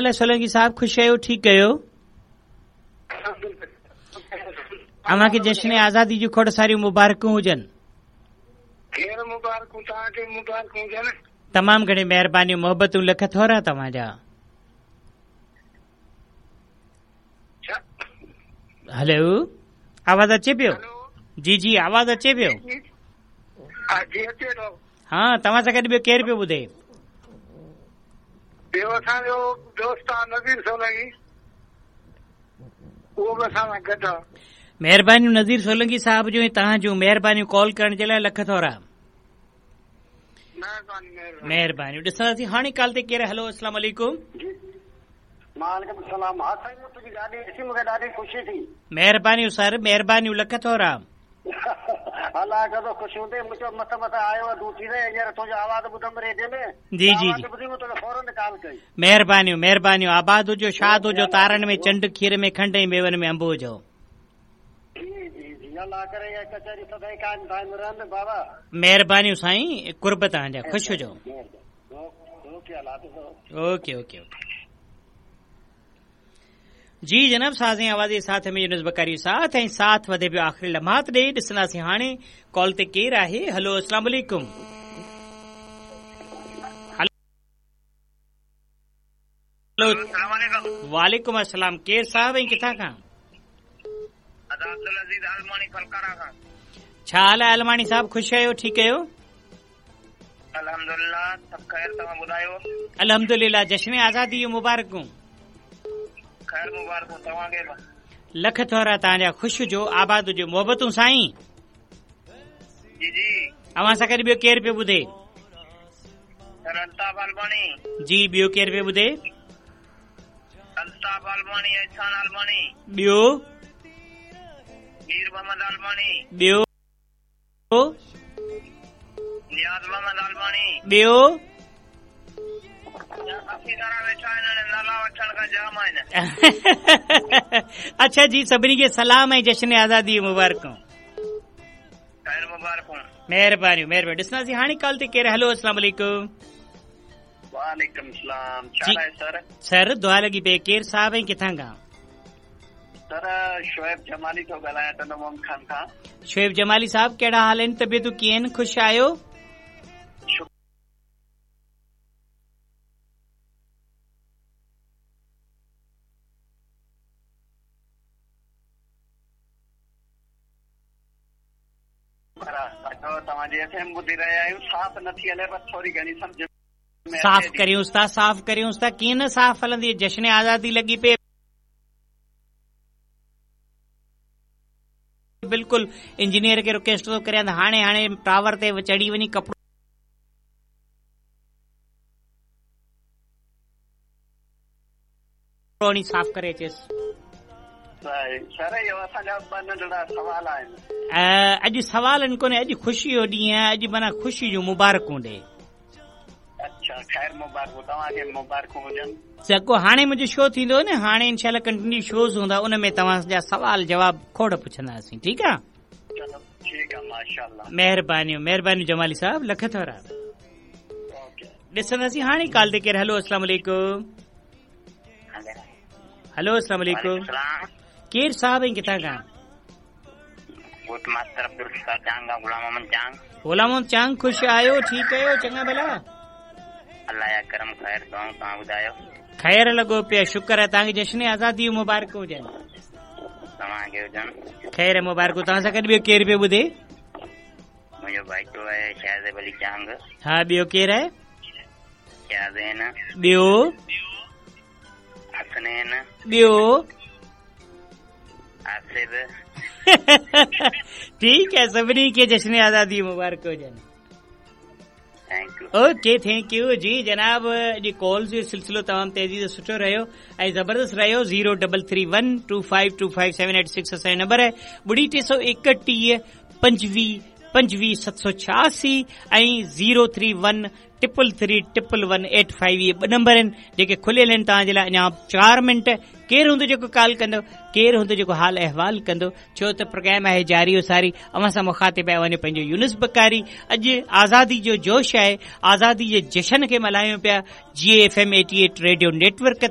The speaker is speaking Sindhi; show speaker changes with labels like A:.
A: حال آهي سولنگي صاحب خوش آهيو ٺيڪ آهيو؟ اوهان کي جشن آزادي جون کوڙ ساريون مبارڪون هجن.
B: خير مبارڪون توهان کي مبارڪون هجن.
A: تمام گهڻي مهربانيون محبتون لک ٿورا توهان جا. هلو آواز اچي پيو؟ جي جي آواز اچي پيو.
B: جي اچي ٿو.
A: ها توهان سان گڏ ٻيو ڪير پيو ٻڌي؟
B: ٻيو اسان جو دوست آ نذير سولنگي اهو به اسان سان گڏ آ.
A: مهربانيون نذير سولنگي صاحب جون ۽ توهان جون مهربانيون ڪال ڪرڻ جي لاء لک ٿورا.
B: مهرباني مهرباني.
A: مهربانيون ڏسنداسين هاڻي ڪال تي ڪير هلو اسلام عليڪم.
B: جي وعليڪم السلام ها سائين مون تنهنجي گاڏي ڏسي مون کي ڏاڍي خوشي ٿي.
A: مهربانيون سر مهربانيون لک ٿورا.
B: الله ڪندو خوش هوندين مون چيو مس مس آيو آ ڊيوٽي تي هينئر تنهنجو آواز ٻڌم ريڊيو ۾
A: جي جي
B: آواز ٻڌي مون توکي فورن ڪال ڪئي.
A: مهربانيون مهربانيون آباد هجو شاد هجو تارن ۾ چنڊ کير ۾ کنڊ ۽ ميون ۾ انب هجو.
B: جي جي جي الله ڪري اها ڪچهري سدائين قائم دائم رهن بابا.
A: مهربانيون سائين قرب توهان جا خوش هجو.
B: اوڪي الله حافظ.
A: اوڪي اوڪي اوڪي جي جناب ساز ۽ آواز جي ساٿ ۾ يونس بڪاري ساٿ ۽ ساٿ وڌي پيو آخري لمحات ڏي ڏسنداسين هاڻي ڪال تي ڪير آهي هلو اسلام عليڪم هلو وعليڪم السلام ڪير صاحب ۽ ڪٿان کان
C: ادا عبدالعزيز عالماڻي ڦلڪارا کان
A: ڇا حال آهي عالماڻي صاحب خوش آهيو ٺيڪ آهيو
C: الحمدلله سڀ خير توهان ٻڌايو.
A: الحمدلله جشن آزادي جون مبارڪون.
C: خير مبارڪون توهان کي به.
A: لک ٿورا توهان جا خوش هجو آباد هجو محبتون سائين.
C: جي جي.
A: اوهان سان گڏ ٻيو ڪير پيو ٻڌي.
C: سر الطاف عالماڻي.
A: جي ٻيو ڪير پيو ٻڌي.
C: الطاف عالماڻي احسان عالماڻي.
A: ٻيو.
C: مير محمد عالماڻي.
A: ٻيو.
C: نياز محمد عالماڻي.
A: ٻيو؟
C: ڪافي سارا ويٺا آهن هاڻي نالا وٺڻ کان جام آهن.
A: اڇا جي سڀني کي سلام ۽ جشن آزادي جون مبارڪون.
C: خير مبارڪون.
A: مهربانيون مهربانيون ڏسنداسين هاڻي ڪال تي ڪير هلو اسلام عليڪم.
C: وعليڪم السلام ڇا حال آهي سر.
A: سر دعا لڳي پئي ڪير صاحب ۽ ڪٿان کان.
C: سر شعيب جمالي ٿو ڳالهايان ٽنڊو محمد خان کان.
A: شعيب جمالي صاحب ڪهڙا حال آهن طبيعتون ڪيئن آهن خوش آهيو.
C: شڪر توهان جي ايف ايم ٻڌي رهيا آهيون صاف نٿي هلي پر ٿوري گهڻي سمجهه
A: ۾ صاف ڪريونس ٿا صاف ڪريونس ٿا ڪيئن نه صاف هلندي جشن آزادي لڳي پئي بلڪل انجنيئر کي رڪويسٽ ٿو ڪريان ته هاڻي هاڻي ٽاور تي چڙهي وڃي ڪپڙو هڻي صاف ڪري اچيس.
C: سر اهو اسان جا ٻه ننڍڙا سوال آهن.
A: اڄ سوالن ڪونهي اڄ خوشي جو ڏينهن آهي اڄ معنيٰ خوشي جون مبارڪون ڏي.
C: اڇا خير مبارڪون توهان کي مبارڪون هجن.
A: جيڪو هاڻي منهنجو شو ٿيندو نه هاڻي انشاء الله ڪنٽينيو شوز هوندا ان ۾ توهان جا سوال جواب کوڙ پڇنداسين ٺيڪ آ.
C: چلو ٺيڪ آ ماشاءالله.
A: مهربانيون مهربانيون جمالي صاحب لک ٿورا. ڏسنداسين هاڻي ڪال تي ڪير هلو اسلام عليڪم. هلو اسلام عليڪم ڪير صاحب ۽ ڪٿان کان.
C: ڳوٺ ماستر عبدالستار چانگ کان غلام محمد چانگ.
A: غلام محمد چانگ خوش آهيو ٺيڪ آهيو چڱا ڀلا.
C: الله جا ڪرم خير دعائون توهان ٻڌايو.
A: خير لڳو پيو شڪر آهي توهان کي جشن آزادي جون مبارڪون هجن.
C: توهان کي هجن.
A: خير مبارڪون توهان سان گڏ ٻيو ڪير پيو ٻڌي.
C: منهنجو ڀائٽو آهي شاهزيب علي چانگ.
A: ها ٻيو ڪير آهي.
C: شاهزين.
A: ٻيو.
C: حسنين.
A: ٻيو.
C: آصف.
A: ٺيڪ آهي سڀني کي جشن آزادي مبارڪ هجن. اوڪي thank you جي جناب اڄ ڪالز جو سلسلو تمام تيزي سان سٺو رهيو ۽ زبردست رهيو zero double three one two five two five seven eight six اسان جو نمبر آهي ٻڙي ٽي سو ايڪٽيهه پنجويهه پنجويهه ست سو ڇهاسي ۽ zero three one triple three triple one eight five اهي ٻه نمبر آهن جيڪي کليل آهن توهان جي لاء اڃا 4 منٽ ڪير هوندو جيڪو ڪال ڪندو ڪير هوندو جيڪو حال احوال ڪندو ڇو ته پروگرام آهي جاري و ساري اوهان سان مخاطب آهي اوهان جو پنهنجو يونس بڪاري اڄ آزادي جو جوش آهي آزادي جي جشن کي ملهايون پيا جي F M 88 radio network تان.